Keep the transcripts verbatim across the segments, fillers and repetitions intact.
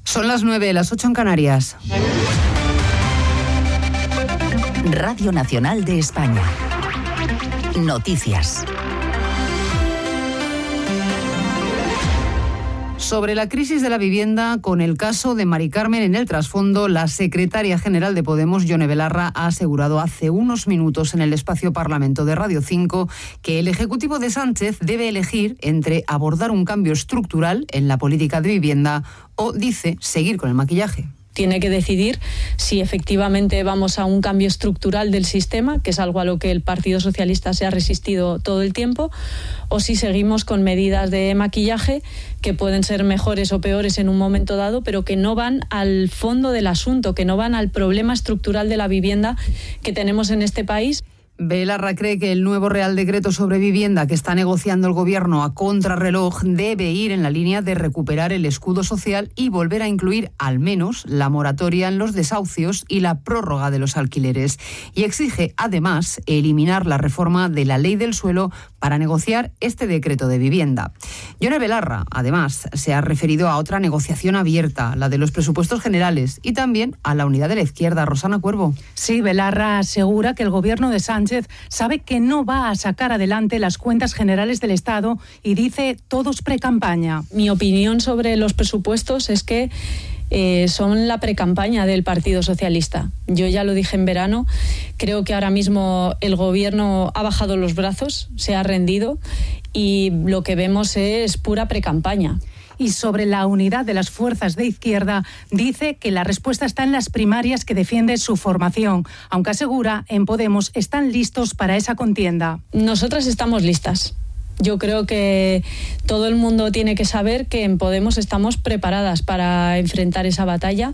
Son las nueve, las ocho en Canarias. Radio Nacional de España. Noticias. Sobre la crisis de la vivienda, con el caso de Mari Carmen en el trasfondo, la secretaria general de Podemos, Yone Belarra, ha asegurado hace unos minutos en el espacio Parlamento de Radio cinco que el Ejecutivo de Sánchez debe elegir entre abordar un cambio estructural en la política de vivienda o, dice, seguir con el maquillaje. Tiene que decidir si efectivamente vamos a un cambio estructural del sistema, que es algo a lo que el Partido Socialista se ha resistido todo el tiempo, o si seguimos con medidas de maquillaje que pueden ser mejores o peores en un momento dado, pero que no van al fondo del asunto, que no van al problema estructural de la vivienda que tenemos en este país. Belarra cree que el nuevo Real Decreto sobre vivienda que está negociando el Gobierno a contrarreloj debe ir en la línea de recuperar el escudo social y volver a incluir al menos la moratoria en los desahucios y la prórroga de los alquileres. Y exige, además, eliminar la reforma de la Ley del Suelo para negociar este decreto de vivienda. Yone Belarra, además, se ha referido a otra negociación abierta, la de los presupuestos generales, y también a la unidad de la izquierda. Rosana Cuervo. Sí, Belarra asegura que el Gobierno de Sánchez sabe que no va a sacar adelante las cuentas generales del Estado y dice todos precampaña. Mi opinión sobre los presupuestos es que eh, son la precampaña del Partido Socialista. Yo ya lo dije en verano, creo que ahora mismo el Gobierno ha bajado los brazos, se ha rendido y lo que vemos es pura precampaña. Y sobre la unidad de las fuerzas de izquierda, dice que la respuesta está en las primarias que defiende su formación, aunque asegura en Podemos están listos para esa contienda. Nosotras estamos listas. Yo creo que todo el mundo tiene que saber que en Podemos estamos preparadas para enfrentar esa batalla,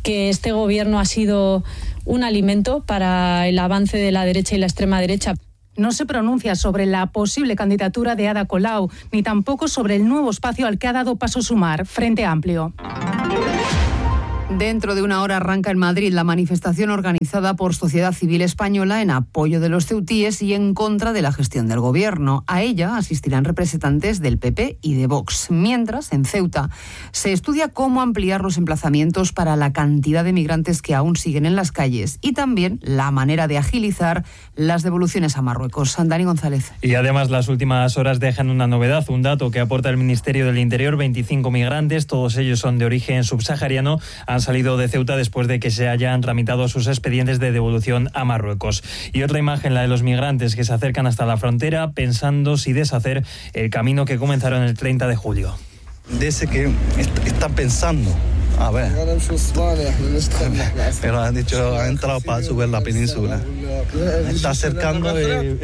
que este gobierno ha sido un alimento para el avance de la derecha y la extrema derecha. No se pronuncia sobre la posible candidatura de Ada Colau, ni tampoco sobre el nuevo espacio al que ha dado paso Sumar, Frente Amplio. Dentro de una hora arranca en Madrid la manifestación organizada por Sociedad Civil Española en apoyo de los ceutíes y en contra de la gestión del Gobierno. A ella asistirán representantes del P P y de Vox. Mientras, en Ceuta, se estudia cómo ampliar los emplazamientos para la cantidad de migrantes que aún siguen en las calles y también la manera de agilizar las devoluciones a Marruecos. Dani González. Y además las últimas horas dejan una novedad, un dato que aporta el Ministerio del Interior: veinticinco migrantes, todos ellos son de origen subsahariano, han salido de Ceuta después de que se hayan tramitado sus expedientes de devolución a Marruecos. Y otra imagen, la de los migrantes que se acercan hasta la frontera pensando si deshacer el camino que comenzaron el treinta de julio. Dice que est- están pensando, a ver, pero han dicho, han entrado para subir la península. Está acercando y,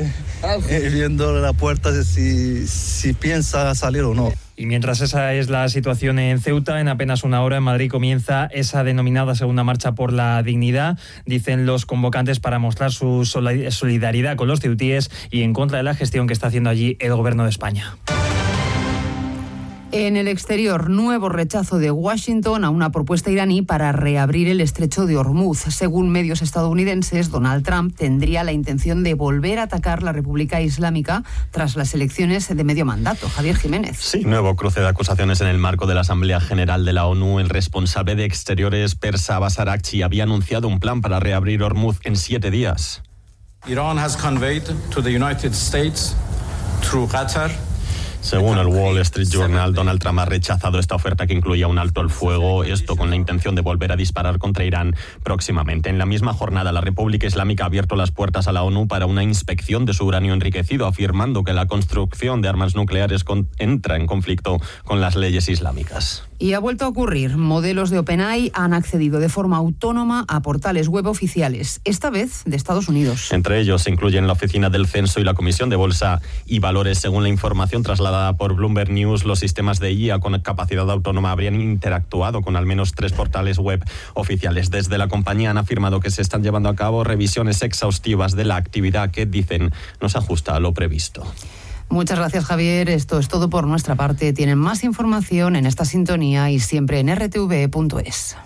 y viendo la puerta si, si piensa salir o no. Y mientras esa es la situación en Ceuta, en apenas una hora en Madrid comienza esa denominada Segunda Marcha por la Dignidad, dicen los convocantes, para mostrar su solidaridad con los ceutíes y en contra de la gestión que está haciendo allí el Gobierno de España. En el exterior, nuevo rechazo de Washington a una propuesta iraní para reabrir el estrecho de Hormuz. Según medios estadounidenses, Donald Trump tendría la intención de volver a atacar la República Islámica tras las elecciones de medio mandato. Javier Jiménez. Sí, nuevo cruce de acusaciones en el marco de la Asamblea General de la ONU. El responsable de Exteriores, Persa Abbas Araghchi, había anunciado un plan para reabrir Hormuz en siete días. Iran has conveyed to the United States through Qatar. Según el Wall Street Journal, Donald Trump ha rechazado esta oferta que incluía un alto al fuego, esto con la intención de volver a disparar contra Irán próximamente. En la misma jornada, la República Islámica ha abierto las puertas a la ONU para una inspección de su uranio enriquecido, afirmando que la construcción de armas nucleares con- entra en conflicto con las leyes islámicas. Y ha vuelto a ocurrir. Modelos de OpenAI han accedido de forma autónoma a portales web oficiales, esta vez de Estados Unidos. Entre ellos se incluyen la Oficina del Censo y la Comisión de Bolsa y Valores. Según la información trasladada por Bloomberg News, los sistemas de I A con capacidad autónoma habrían interactuado con al menos tres portales web oficiales. Desde la compañía han afirmado que se están llevando a cabo revisiones exhaustivas de la actividad que, dicen, no se ajusta a lo previsto. Muchas gracias, Javier. Esto es todo por nuestra parte. Tienen más información en esta sintonía y siempre en erre te ve punto es.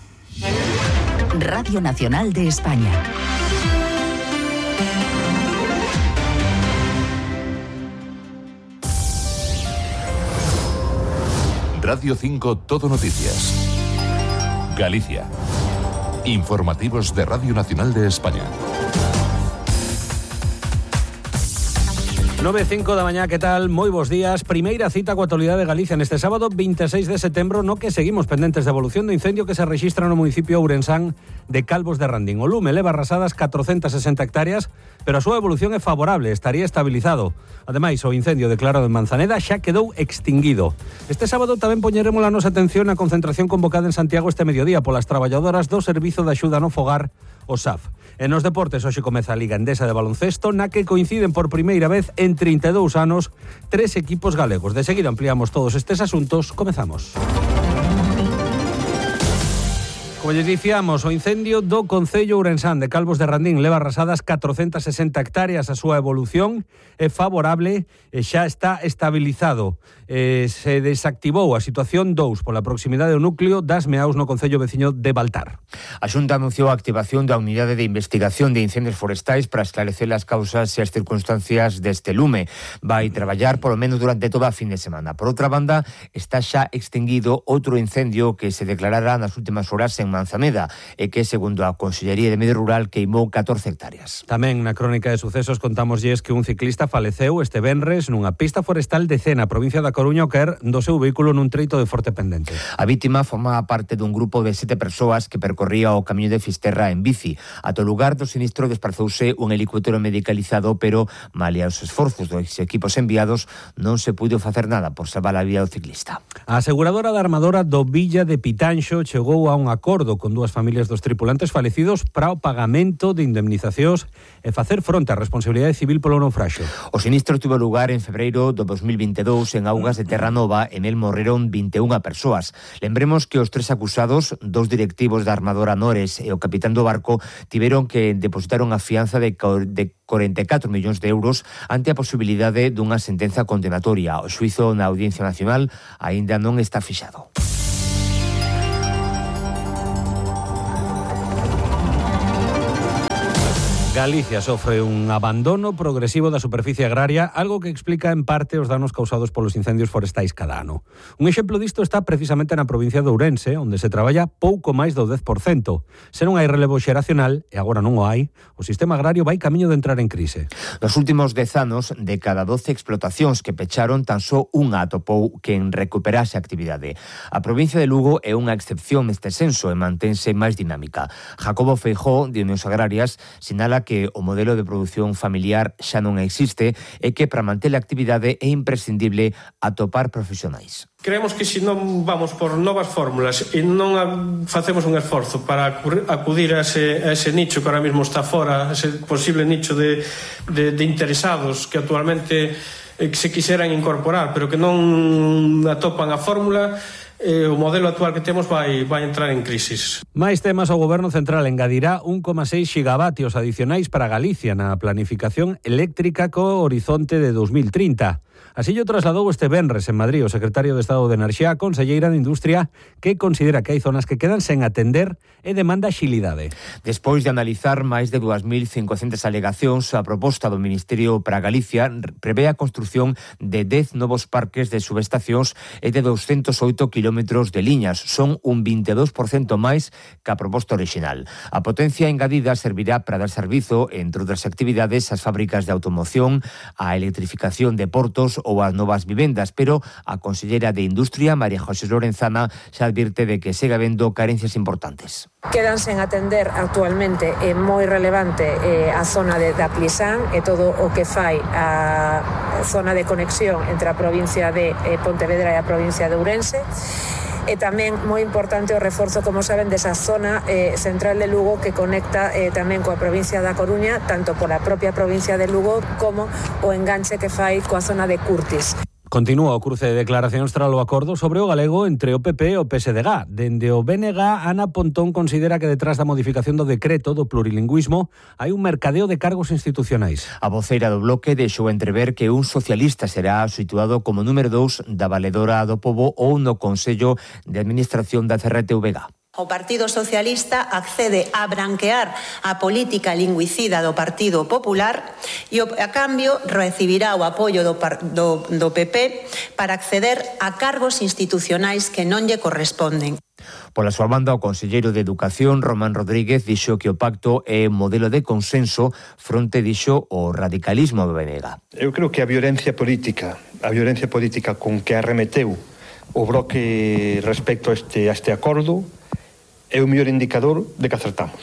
Radio Nacional de España. Radio cinco Todo Noticias. Galicia. Informativos de Radio Nacional de España. nove e cinco da mañá, que tal? Moi bons días. Primeira cita coa actualidade de Galicia neste sábado vinte e seis de setembro, no que seguimos pendentes de evolución do incendio que se rexistra no municipio ourensán de Calvos de Randín. O lume leva arrasadas catrocentas sesenta hectáreas, pero a súa evolución é favorable, estaría estabilizado. Ademais, o incendio declarado en Manzaneda xa quedou extinguido. Este sábado tamén poñeremos a nosa atención na concentración convocada en Santiago este mediodía polas traballadoras do Servizo de Axuda no Fogar, o S A F. En os deportes, hoxe comeza a Liga Endesa de baloncesto, na que coinciden por primeira vez en trinta e dous anos tres equipos galegos. De seguida ampliamos todos estes asuntos. Comezamos. Como lles dicíamos, o incendio do Concello ourensán de Calvos de Randín leva arrasadas catrocentas sesenta hectáreas. A súa evolución é favorable e xa está estabilizado. Eh, se desactivou a situación dous pola proximidade do núcleo das Meaus no Concello veciño de Baltar. A Xunta anunciou a activación da Unidade de Investigación de Incendios Forestais para esclarecer as causas e as circunstancias deste lume. Vai traballar polo menos durante toda a fin de semana. Por outra banda, está xa extinguido outro incendio que se declarará nas últimas horas en Manzaneda e que, segundo a Consellería de Medio Rural, queimou catorce hectáreas. Tamén na crónica de sucesos contámoslles que un ciclista faleceu este venres nunha pista forestal de Cena, provincia da Coruña, ao caer do seu vehículo nun treito de forte pendente. A vítima formaba parte dun grupo de sete persoas que percorría o camiño de Fisterra en bici. Ata o lugar do sinistro desprazouse un helicóptero medicalizado, pero, malia os esforzos dos equipos enviados, non se puido facer nada por salvar a vida do ciclista. A aseguradora da armadora do Villa de Pitanxo chegou a un acordo con dúas familias dos tripulantes falecidos para o pagamento de indemnizacións e facer fronte á responsabilidade civil polo naufraxio. O sinistro tuvo lugar en febreiro do dos mil vinte e dous en augas de Terranova, en el morreron vinte e unha persoas. Lembremos que os tres acusados, dos directivos da armadora Nores e o capitán do barco, tiveron que depositar unha fianza de corenta e catro millóns de euros ante a posibilidade dunha sentenza condenatoria. O xuízo na Audiencia Nacional aínda non está fixado. Galicia sofre un abandono progresivo da superficie agraria, algo que explica en parte os danos causados polos incendios forestais cada ano. Un exemplo disto está precisamente na provincia de Ourense, onde se traballa pouco máis do dez por cento. Se non hai relevo xeracional, e agora non o hai, o sistema agrario vai camiño de entrar en crise. Nos últimos dez anos, de cada doce explotacións que pecharon, tan só unha atopou quen recuperase a actividade. A provincia de Lugo é unha excepción neste senso e mantense máis dinámica. Jacobo Feijó, de Unións Agrarias, sinala que o modelo de produción familiar xa non existe e que para manter a actividade é imprescindible atopar profesionais. Creemos que se non vamos por novas fórmulas e non facemos un esforzo para acudir a ese, a ese nicho que ahora mismo está fora, ese posible nicho de, de, de interesados que actualmente eh, se quixeran incorporar, pero que non atopan a fórmula, Eh, o modelo actual que temos vai, vai entrar en crisis. Mais temas, o Goberno Central engadirá un coma seis xigavatios adicionais para Galicia na planificación eléctrica co horizonte de dos mil trinta. Así o trasladou este venres en Madrid o secretario de Estado de Enerxía, a conselleira de Industria, que considera que hai zonas que quedan sen atender e demanda xilidade. Despois de analizar máis de dúas mil cincocentas alegacións, a proposta do Ministerio para Galicia prevé a construción de dez novos parques de subestacións e de douscentos oito kilómetros de liñas. Son un vinte e dous por cento máis que a proposta original. A potencia engadida servirá para dar servizo, entre outras actividades, ás fábricas de automoción, a electrificación de portos ou as novas vivendas, pero a conselleira de Industria, María José Lorenzana, xa advirte de que segue habendo carencias importantes. Quedan sen atender actualmente, é moi relevante eh, a zona de, de Aplisán e todo o que fai a zona de conexión entre a provincia de eh, Pontevedra e a provincia de Ourense. E tamén moi importante o reforzo, como saben, desa zona eh, central de Lugo que conecta eh, tamén coa provincia da Coruña, tanto pola propia provincia de Lugo como o enganche que fai coa zona de Curtis. Continúa o cruce de declaracións tras o acordo sobre o galego entre o P P e o P S D G. Dende o B N G, Ana Pontón considera que detrás da modificación do decreto do plurilingüismo hai un mercadeo de cargos institucionais. A voceira do bloque deixou entrever que un socialista será situado como número dous da Valedora do Pobo ou no Consello de Administración da C R T V G. O Partido Socialista accede a branquear a política lingüicida do Partido Popular e, a cambio, recibirá o apoio do, do, do P P para acceder a cargos institucionais que non lle corresponden. Pola súa banda, o conselleiro de Educación, Román Rodríguez, dixo que o pacto é un modelo de consenso fronte, dixo, o radicalismo do B N G. Eu creo que a violencia política, a violencia política con que arremeteu o bloque respecto a este, a este acordo é o mellor indicador de que acertamos.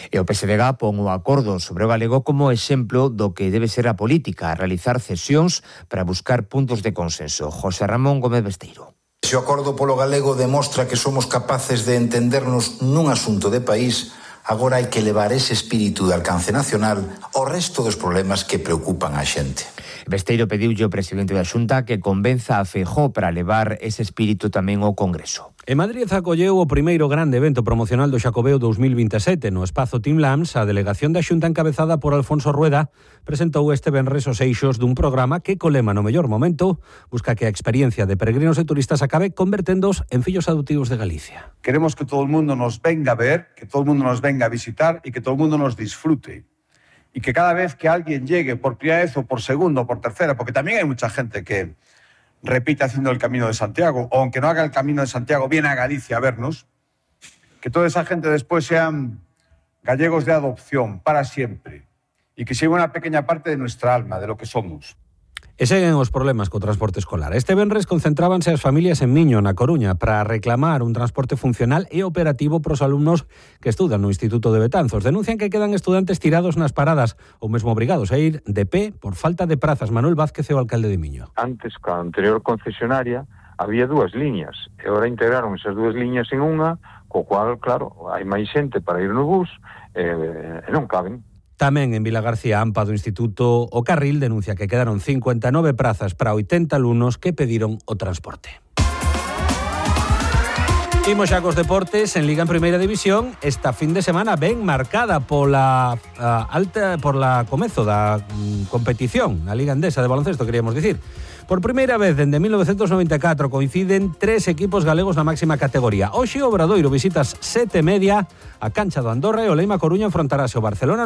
E o P S D G pon o acordo sobre o galego como exemplo do que debe ser a política, a realizar cesións para buscar puntos de consenso. José Ramón Gómez Besteiro. Se o acordo polo galego demostra que somos capaces de entendernos nun asunto de país, agora hai que levar ese espírito de alcance nacional ao resto dos problemas que preocupan a xente. Besteiro pediulle ao presidente da Xunta que convenza a Feijóo para levar ese espírito tamén ao Congreso. En Madrid acolleu o primeiro grande evento promocional do Xacobeo dous mil vinte e sete. No espazo Team Lams, a delegación da Xunta encabezada por Alfonso Rueda presentou este venres os eixos dun programa que, co lema no mellor momento, busca que a experiencia de peregrinos e turistas acabe converténdoos en fillos adoptivos de Galicia. Queremos que todo el mundo nos venga a ver, que todo el mundo nos venga a visitar y que todo el mundo nos disfrute. Y que cada vez que alguien llegue por primera vez o por segunda o por tercera, porque también hay mucha gente que repite haciendo el Camino de Santiago, o aunque no haga el Camino de Santiago, viene a Galicia a vernos, que toda esa gente después sean gallegos de adopción para siempre y que sea una pequeña parte de nuestra alma, de lo que somos. E seguen os problemas co transporte escolar. Este venres concentrábanse as familias en Miño, na Coruña, para reclamar un transporte funcional e operativo pros alumnos que estudan no Instituto de Betanzos. Denuncian que quedan estudantes tirados nas paradas ou mesmo obrigados a ir de pé por falta de prazas. Manuel Vázquez é o alcalde de Miño. Antes, coa anterior concesionaria, había dúas liñas e agora integraron esas dúas liñas en unha, co cual, claro, hai máis xente para ir no bus e, e non caben. Tamén en Vilagarcía Ampa do Instituto O Carril denuncia que quedaron cincuenta e nove prazas para oitenta alumnos que pediron o transporte. Imos xa cos deportes en Liga en Primeira División. Esta fin de semana ben marcada pola uh, alta por la comezo da um, competición na Liga Endesa de baloncesto, queríamos dicir. Por primeira vez dende mil novecientos noventa e catro coinciden tres equipos galegos na máxima categoría. Hoxe o Obradoiro visitas sete e media a cancha do Andorra e o Leima Coruña enfrontarase ao Barcelona